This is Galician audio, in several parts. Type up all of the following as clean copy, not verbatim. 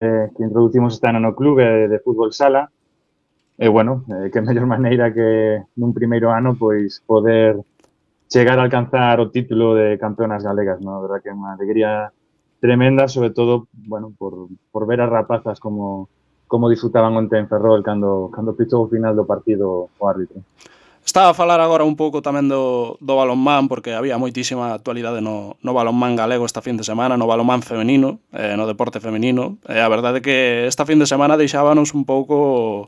que introducimos este ano no clube de fútbol sala. E, bueno, que mellor maneira que nun primeiro ano, pois, poder chegar a alcanzar o título de campeonas galegas, ¿no? A verdad que é unha alegría tremenda, sobre todo, bueno, por ver as rapazas como disfrutaban onte en Ferrol cando pitou o final do partido o árbitro. Estaba a falar agora un pouco tamén do balonmán, porque había moitísima actualidade no balonmán galego esta fin de semana, no balonmán femenino, no deporte femenino. A verdade é que esta fin de semana deixábanos un pouco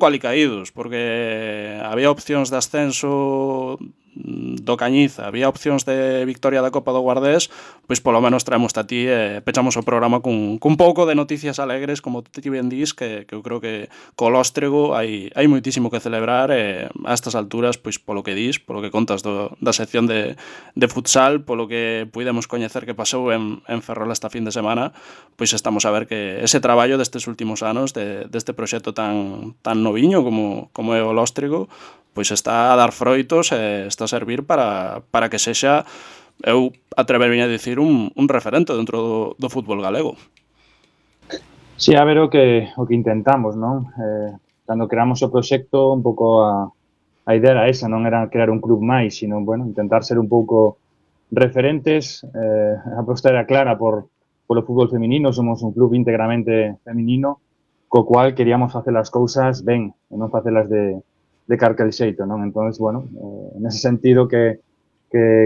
alicaídos, porque había opcións de ascenso do Cañiza, había opcións de victoria da Copa do Guardés, pois polo menos traemos a ti e pechamos o programa cun pouco de noticias alegres, como ti ben dís, que eu creo que co Lóstrego hai moitísimo que celebrar e a estas alturas, pois polo que dís, polo que contas da sección de futsal, polo que puidemos coñecer que pasou en Ferrol esta fin de semana, pois estamos a ver que ese traballo destes últimos anos deste proxecto tan noviño como é o Lóstrego, pois está a dar froitos e está a servir para que sexa, eu atreverme a dicir, un referente dentro do fútbol galego. Sí, a ver o que intentamos, non? Cando creamos o proxecto, un pouco a idea era esa, non era crear un club máis, sino, bueno, intentar ser un pouco referentes. A aposta era clara polo fútbol feminino, somos un club íntegramente feminino, co cual queríamos facer as cousas ben, e non facelas de carquel xeito, non? Entón, bueno, nese sentido que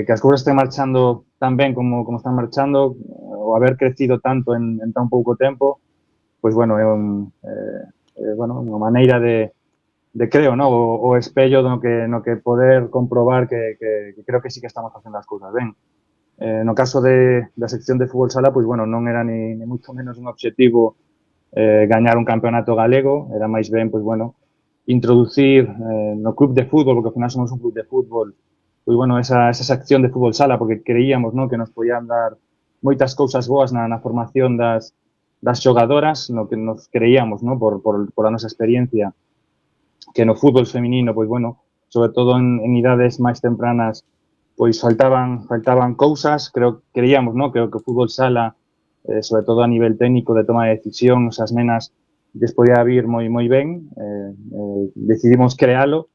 as cousas estén marchando tan ben como están marchando, o haber crecido tanto en tan pouco tempo, pois, bueno, é unha maneira de creo, no? O espello no que poder comprobar que creo que sí que estamos facendo as cousas ben. No caso da sección de fútbol sala, pois, bueno, non era ni moito menos un objetivo gañar un campeonato galego, era máis ben, pois, bueno, introducir no club de fútbol, porque ao final somos un club de fútbol, pois, bueno, esa sección de fútbol sala, porque creíamos, no, que nos podían dar moitas cousas boas na formación das xogadoras, no que nos creíamos, no, por a nosa experiencia, que no fútbol feminino, pois, bueno, sobre todo en idades máis tempranas, pois faltaban cousas, creíamos, no, que o fútbol sala, sobre todo a nivel técnico de toma de decisións, as nenas lles podía vir moi ben, decidimos crealo,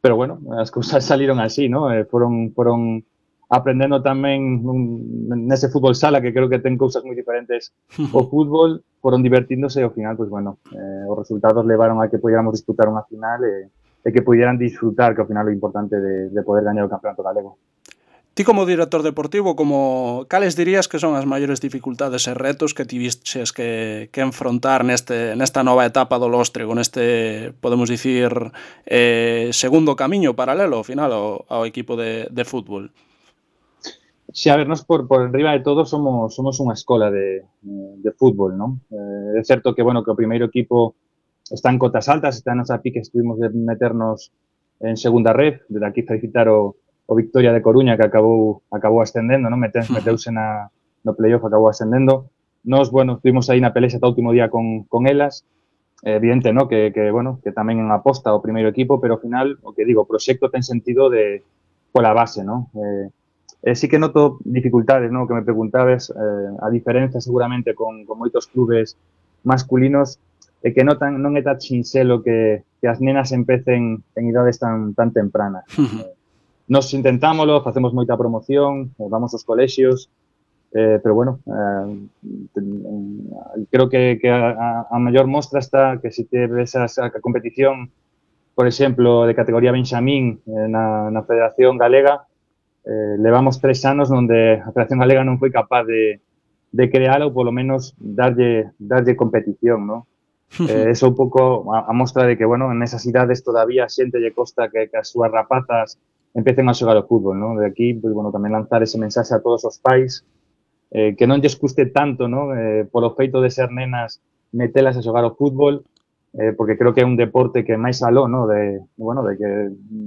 pero, bueno, as cousas saliron así, no? Foron aprendendo tamén nese fútbol sala, que creo que ten cousas moi diferentes o fútbol, foron divertíndose e ao final, pois, bueno, os resultados levaron a que podíamos disputar unha final e que pudieran disfrutar, que ao final é o importante de poder gañar o campeonato galego. Ti como director deportivo, cales dirías que son as maiores dificultades e retos que tivistes que enfrontar nesta nova etapa do Lóstrego, neste, podemos dicir, segundo camiño paralelo ao final ao equipo de fútbol? Si, a ver, nos por enriba de todo somos unha escola de fútbol, non? É certo que, bueno, que o primeiro equipo está en cotas altas, está nos a pique, estuvimos de meternos en segunda red, desde aquí felicitar o Victoria de Coruña, que acabou ascendendo, non? Meteuse no playoff, acabou ascendendo. Nos, bueno, estuvimos aí na pelexa ata o último día con elas, evidente, no? Que bueno, que tamén en aposta o primeiro equipo, pero ao final, o que digo, o proxecto ten sentido pola base, non? Sí que noto dificultades, ¿no? Que me preguntabes, a diferencia seguramente con moitos clubes masculinos, é que non é tan sinxelo que as nenas empecen en idades tan tempranas. Nos intentámoslo, facemos moita promoción, vamos aos colexios, pero, bueno, creo que a maior mostra está que se te ves a competición, por exemplo, de categoría Benxamín na Federación Galega, levamos 3 anos onde a Federación Galega non foi capaz de crear ou polo menos darlle competición, ¿no? Eso un pouco a mostra de que, bueno, en esas idades todavía a xente lle costa que as súas rapazas empecen a xogar o fútbol, ¿no? De aquí, pues, bueno, tamén lanzar ese mensaxe a todos os pais, que non lles custe tanto, ¿no? Polo feito de ser nenas metelas a xogar o fútbol, porque creo que é un deporte que máis aló, ¿no? Bueno, de que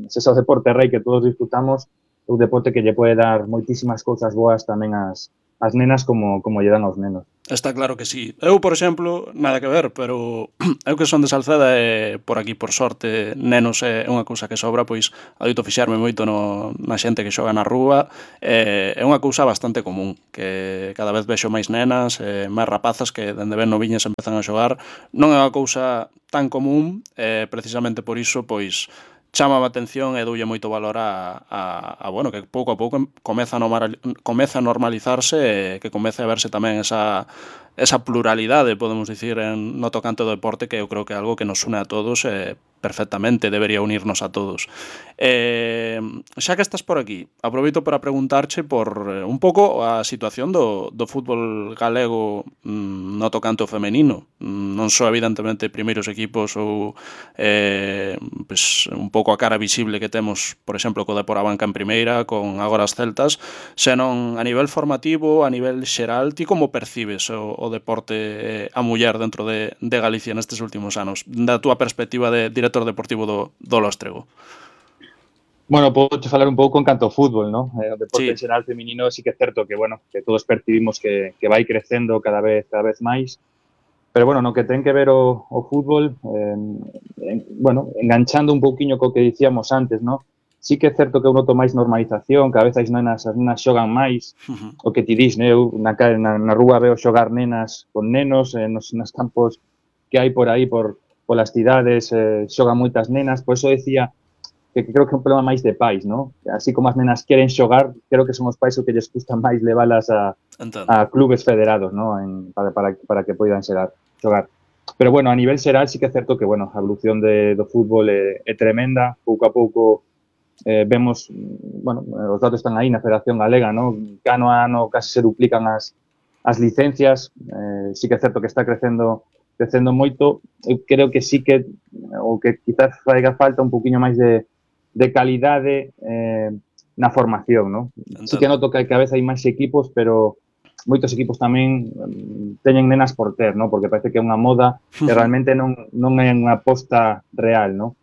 ese é o deporte rei que todos disfrutamos, un deporte que lle pode dar moitísimas cousas boas tamén ás nenas como lle dan aos nenos. Está claro que sí. Eu, por exemplo, nada que ver, pero eu que son de Salceda e por aquí, por sorte, nenos é unha cousa que sobra, pois adoito fixarme moito na xente que xoga na rúa, é unha cousa bastante común, que cada vez vexo máis nenas, máis rapazas que dende ben noviñas empezan a xogar. Non é unha cousa tan común, precisamente por iso, pois chama a atención e doulle moito valor bueno, que pouco a pouco comeza a normalizarse e que comece a verse tamén esa pluralidade, podemos dicir, no tocante do deporte, que eu creo que é algo que nos une a todos perfectamente, debería unirnos a todos. Xa que estás por aquí, aproveito para preguntarche por un pouco a situación do fútbol galego no tocante ao femenino. Non só, evidentemente, primeiros equipos ou pues, un pouco a cara visible que temos, por exemplo, co Depor Abanca en primeira, con agora as Celtas, senón a nivel formativo, a nivel xeral, ti como percibes o deporte a muller dentro de Galicia nestes últimos anos, da túa perspectiva de director deportivo do Lóstrego? Bueno, podo te falar un pouco en canto ao fútbol, ¿no? O deporte Sí. en xeral feminino sí que é certo que, bueno, que todos percibimos que vai crecendo cada vez máis, pero, bueno, no que ten que ver o fútbol, bueno, enganchando un pouquiño co que dicíamos antes, ¿no? Sí que é certo que eu noto máis normalización, cada vez as nenas xogan máis, o que ti dis, né? Eu na rúa veo xogar nenas con nenos, nos campos que hai por aí, polas cidades, xogan moitas nenas, por eso decía que creo que é un problema máis de pais, ¿no? Así como as nenas queren xogar, creo que son os pais o que lles custa máis leválas a clubes federados, ¿no? Para que poidan xogar. Pero, bueno, a nivel xeral sí que é certo que, bueno, a evolución do fútbol é tremenda. Pouco a pouco vemos, bueno, os datos están aí na Federación Galega, ¿no? Ano a ano casi se duplican as licencias. Sí que é certo que está crecendo moito. Eu creo que sí que o que quizás faiga falta un poquinho máis de calidade na formación, ¿no? Sí que noto que cada vez hai máis equipos, pero moitos equipos tamén teñen nenas por ter, ¿no? Porque parece que é unha moda e realmente non é unha aposta real, ¿no?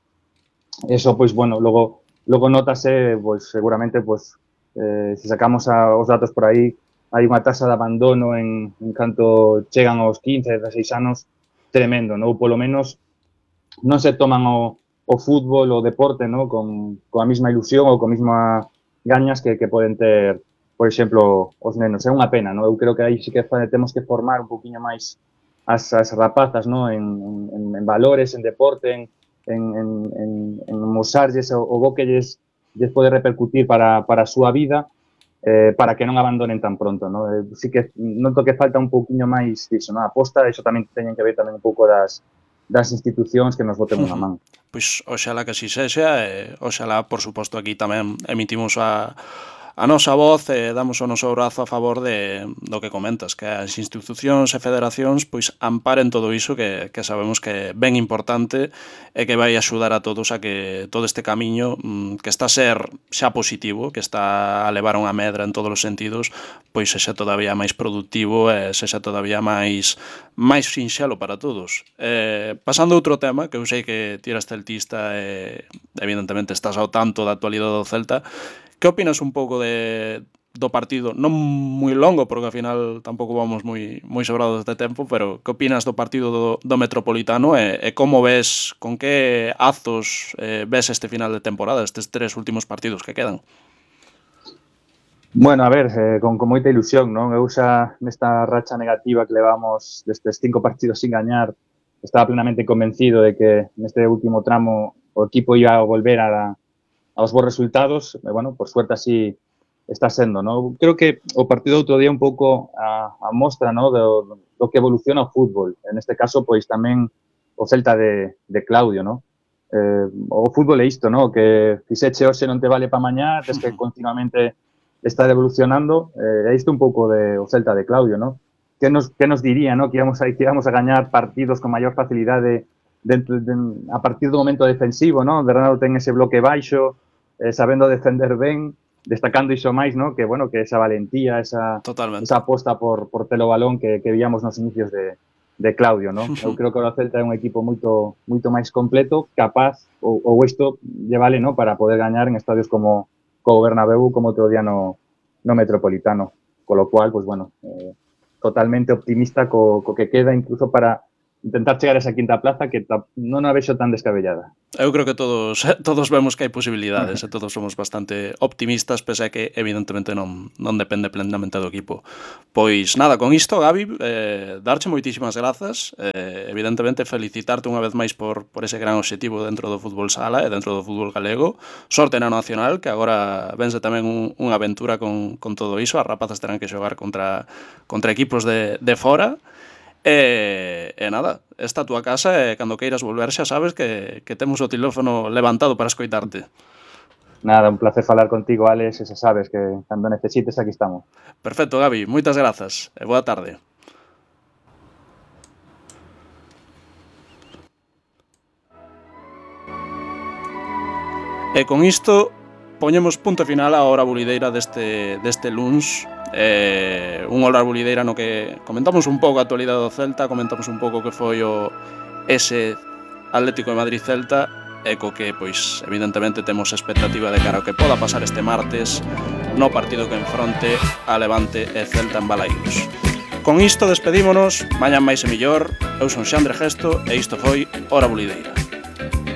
Eso, pois, bueno, logo notase, pois, seguramente, pois, se sacamos os datos por aí, hai unha tasa de abandono en canto chegan aos 15, 16 anos tremendo, ¿no? Ou polo menos non se toman o fútbol, o deporte, ¿no? Coa mesma ilusión ou coa mesma gañas que poden ter, por exemplo, os nenos. É unha pena, ¿no? Eu creo que aí sí que temos que formar un poquinho máis as rapazas, ¿no? En valores, en deporte, en mosarlles o bo que lles pode repercutir para a súa vida, para que non abandonen tan pronto, ¿no? Sí que noto que falta un pouquiño máis disso, ¿no? A aposta, iso tamén teñen que ver tamén un pouco das institucións que nos boten unha man. Pois oxalá que así sexa, e oxalá, por suposto, aquí tamén emitimos a nosa voz e damos o noso brazo a favor do que comentas, que as institucións e federacións pois amparen todo iso que sabemos que é ben importante e que vai axudar a todos a que todo este camiño que está a ser xa positivo, que está a levar unha medra en todos os sentidos, pois sexa todavía máis productivo e sexa todavía máis sinxelo para todos. Pasando a outro tema, que eu sei que ti eres celtista e evidentemente estás ao tanto da actualidade do Celta, que opinas un pouco do partido? Non moi longo, porque ao final tampouco vamos moi sobrados de tempo, pero que opinas do partido do Metropolitano e como ves, con que azos ves este final de temporada, estes 3 últimos partidos que quedan? Bueno, a ver, con moita ilusión, non? Eu xa nesta racha negativa que levamos destes 5 partidos sin gañar, estaba plenamente convencido de que neste último tramo o equipo ia a volver aos bons resultados, e, bueno, por suerte así está sendo, ¿no? Creo que o partido outro día un pouco a mostra, ¿no? do que evoluciona o fútbol. En este caso, pois tamén o Celta de Claudio, ¿no? O fútbol é isto, ¿no? Que fixeche hoxe non te vale pa mañá, tes que continuamente estar evolucionando. É isto un pouco o Celta de Claudio, ¿no? Que nos diría, ¿no? Que íbamos a gañar partidos con maior facilidade a partir do momento defensivo, ¿no? Bernardo ten ese bloque baixo, sabendo defender ben, destacando iso máis, ¿no? Que, bueno, que esa valentía, esa aposta por telo balón que víamos nos inicios de Claudio, ¿no? Eu creo que o Celta é un equipo moito máis completo, capaz, ou isto lle vale, ¿no? Para poder gañar en estadios como o Bernabéu, como outro día no Metropolitano. Con lo cual, pues bueno, totalmente optimista co que queda, incluso para intentar chegar a esa quinta plaza que non a vexo tan descabellada. Eu creo que todos vemos que hai posibilidades e todos somos bastante optimistas, pese a que evidentemente non depende plenamente do equipo. Pois nada, con isto, Gabi, darche moitísimas grazas, evidentemente felicitarte unha vez máis por ese gran obxectivo dentro do fútbol sala e dentro do fútbol galego. Sorte na nacional, que agora vense tamén unha aventura con todo iso, as rapazas terán que xogar contra equipos de fora. E nada, esta a túa casa e cando queiras volver xa sabes que temos o teléfono levantado para escoitarte. Nada, un placer falar contigo, Alex, e xa sabes que cando necesites aquí estamos. Perfecto, Gabi, moitas grazas e boa tarde. E con isto poñemos punto final á hora bulideira deste luns. Un hora bulideira no que comentamos un pouco a actualidade do Celta, comentamos un pouco que foi ese Atlético de Madrid-Celta e co que, pois, evidentemente temos expectativa de cara ao que poda pasar este martes no partido que enfronte a Levante e Celta en Balaídos. Con isto despedímonos, mañan máis e millor. Eu son Xandre Gesto e isto foi Hora Bulideira.